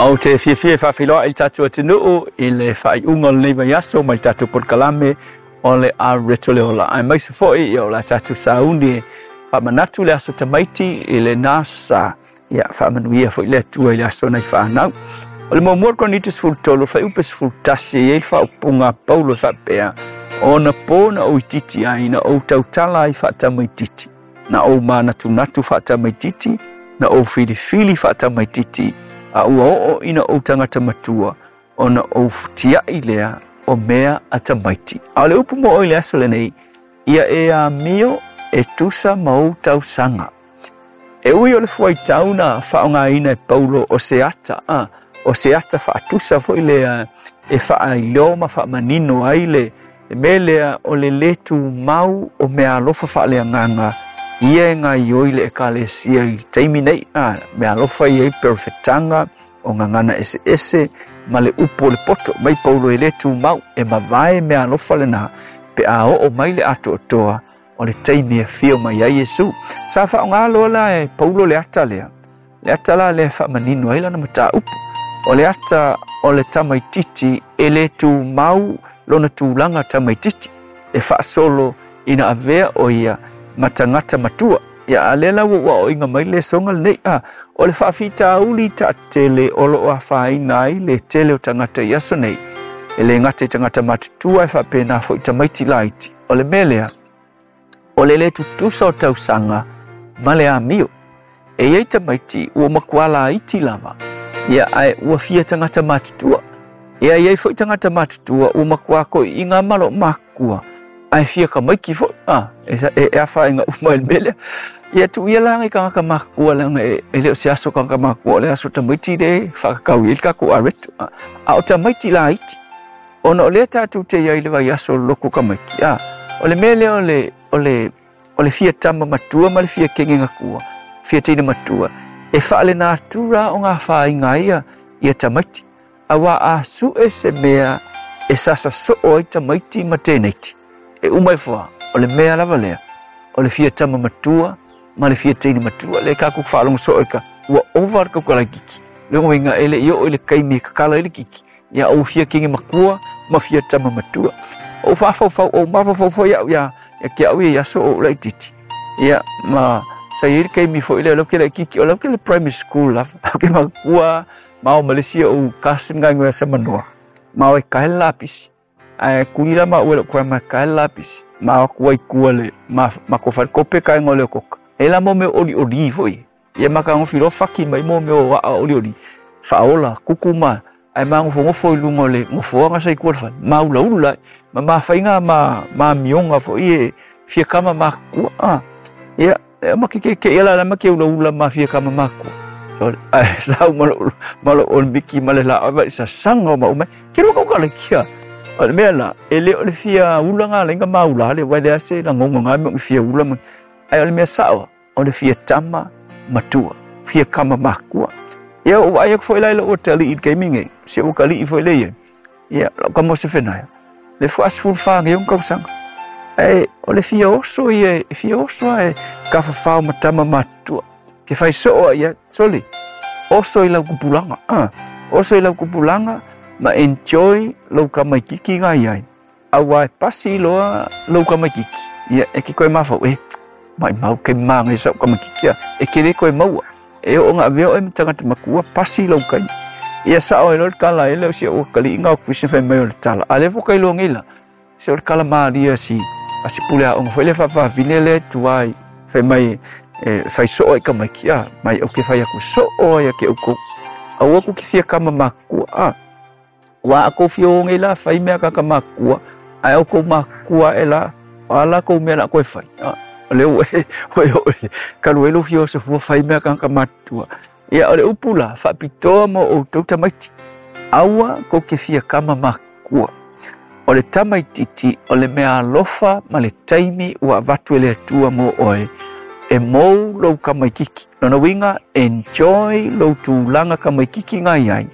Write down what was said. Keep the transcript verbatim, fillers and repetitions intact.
Ou te fiafia e faafeiloai i le tatou atunuu i le faaiuga o lenei vaiaso mai le tatou polokalame o le Areto le Ola. Aemaise foi ia o la tatou sauni e faamanatu le aso tamaiti i lena sa ia faamanuia foi le Atua i le aso nai fanau. O le muamua o Korinito sefulu tolu, fuaiupe sefulu tasi, e i ai le faaupuga a Paulo e faapea, ona po na ou itiiti ai, na ou tautala ai faatamaititi, na ou manatunatu faatamaititi, na ou filifili faatamaititi, a ua oo ina ou tagata matua, ona ou futiai lea o mea a tamaiti. A o le upu mo oi le aso lenei, ia e amio e tusa ma ou tausaga. E ui o le fuaitau na faaaogaina e Paulo o se ata, a, o se ata faatusa foi lea e faailoa ma faamanino ai le le mea lea o le lē tumau o meaalofa faaleagaga ia e gaioi le ekalesia i le taimi nei, a, meaalofa ia i perofetaga o gagana eseese ma le upu o le poto mai Paulo e lē tumau e mavae meaalofa lena pe a oo mai le atoatoa o le taimi e afio mai ai Iesu. Sa faaaoga loa la e Paulo le ata lea, le ata la lea e faamanino ai lana mataupu. O le ata o le tamaititi e lē tumau lona tulaga tamaititi e faasolo ina avea o ia ma tagata matua. Ia a lea la ua ou aoaoina mai le lesoga lenei, a, o le faafitauli taatele o loo afaina ai le tele o tagata i aso nei. E lē gata i tagata matutua e faapena foi tamaiti laiti. O le mea lea, o le lē tutusa o tausaga ma le amio. E i ai tamaiti ua matua laiti lava, ia ae ua fia tagata matutua. Ia e i ai foi tagata matutua ua matua toeaiina ma loo makua, ae fia tamaiti foi, a, e, e, e afaina uma i le mea lea. Ia tuuia la nai tagata matutua leaga e, e le o se aso tagata matutua, o le aso tamaiti le faakakau i ai le tatou areto. A, a o tamaiti laiti, ona o lea tatou te iai i le vaiaso o le lotu tamaiti, a, o le mea lea o le, o le, o le fia tama matua ma le fia kene matua, fia teine matua, e faalenatura o ngā whāinga ia ia tamaiti. Auā a sue se mea e sasa soo ai tamaiti ma tēneiti. E uma i fua, o le mea lava lea, o le fia tama matua ma le fia teine matua. Le kākou faalogo soo i ka ua ova le kaukalai kiki. Le uiga e le i oo i le taimi e kakala ai le kiki. Ia ou fia kene matua ma fia tama matua. O whaafaufau, o mafaufau foi au ia, ia ke au ia aso o laitiiti. Ia, ma sa i ai le taimi foi lea o lau ke laitiiti, o lau ke le primary school lava. Au ke makua, ma o Malaysia o cousin ngai ngoe sa manoa. Ma o e kahe le lapisi. Ae kuli la ma ue lou grandma e kahe le lapisi. Ma o kua i kua le, ma, ma ko whare kope kai ngole o koka. E la mo mea oli oli foi. Ia ma ka ngofi lo faki mai mo mea o aa oli oli. Whaola, kuku ma, ai ma ngofo ngofo i lunga o le ngofoanga sa i kua le whare. Ma ula ula, ma ma whainga ma, ma mionga foi e fia kama ma kua. Ah, ia, e ma ke ke ke ia la la ma ke ula ula ma fia kama ma kua. So, ai, sau ma lo, ma lo o miki ma le la, ai sa sanga o ma umai. Ke rua kauka le kia. O le mea la, e le o le fia ula ngā lenga ma ula le, wai le ase la ngongo ngā mea o fia ula ma. Ai o le mea sao, o le fia tama matua, fia kama makua. Ia o ai aku foi lai lo o tali i ke minge, se o kali i foi le ia. Ia, lo ka mo se whenaya. Le fua asifuru wha nge yung kausanga. Ai, o le fia oso ia, e fia oso e ka whawhao ma tama matua. Ke whai soo ia, soli, oso i lau kupulanga. Ah, oso i lau kupulanga, ma enjoy lau kamaikiki ngai ai. Aua e pasi loa lau kamaikiki. Ia, e ke koe mawhau, e, mai mau ke maa ngai sau kamaikiki a, e ke le koe maua. E o ngā veo e matangata makua, pasi lau kai. Ia sao e lo le kala e leo si o kali inga o kuisa whai mai o le tala. A le foka i loa ngeila, se o le kala maalia si, a si pule a onga whai le whawhawhine le tuai, whai mai, e, whai soo i kamaiki a, mai o ke whai aku soo ai a ke uko. Au aku ki fia kama makua a. Wa ako fia o ngeila whai mea kaka makua, ai au kou makua e la, ala kou mea la koe whai. A, o le ue, ue ue, kalu e lo fia o se fua whai mea kaka matua. Ia o le upu la, whaapitoa mo o tau tamaiti. Aua ko ke fia kama makua. O le tamaititi, o le mea alofa ma le taimi ua avatu e le Atua mo oe, e mou lou kamaikiki. Lona uiga, enjoy lou tulaga kamaikiki ngai ai.